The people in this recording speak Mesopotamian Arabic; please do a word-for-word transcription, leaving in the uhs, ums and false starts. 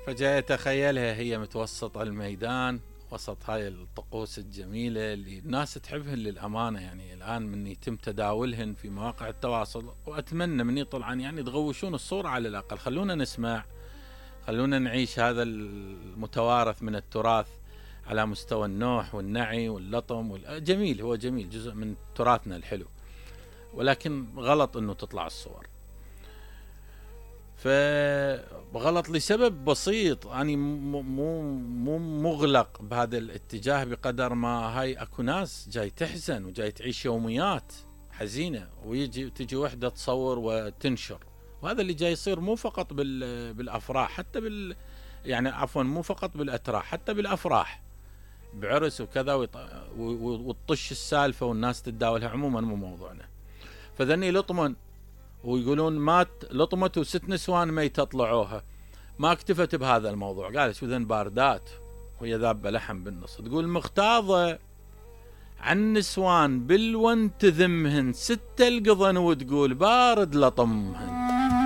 فجاي اتخيلها هي متوسط الميدان وسط هاي الطقوس الجميلة اللي الناس تحبهن للأمانة. يعني الآن من يتم تداولهن في مواقع التواصل، وأتمنى من طلعان يعني تغوشون الصورة على الأقل، خلونا نسمع، خلونا نعيش هذا المتوارث من التراث على مستوى النوح والنعي واللطم وال... جميل، هو جميل، جزء من تراثنا الحلو، ولكن غلط انه تطلع الصور. فغلط لسبب بسيط، أنا مو مو مغلق بهذا الاتجاه بقدر ما هاي اكو ناس جاي تحزن وجاي تعيش يوميات حزينة، ويجي تجي وحدة تصور وتنشر. وهذا اللي جاي يصير مو فقط بال بالافراح، حتى بال يعني عفوا مو فقط بالاتراح، حتى بالافراح بعرس وكذا، وتطش السالفة والناس تتداولها. عموما مو موضوعنا. فذني لطمن ويقولون مات لطمت وست نسوان ميتة طلعوها. ما اكتفت بهذا الموضوع، قالت شو ذن باردات وهي ذابة لحم بالنص. تقول مغتاظة عن نسوان بالون تذمهن ستة القضن، وتقول بارد لطمهن.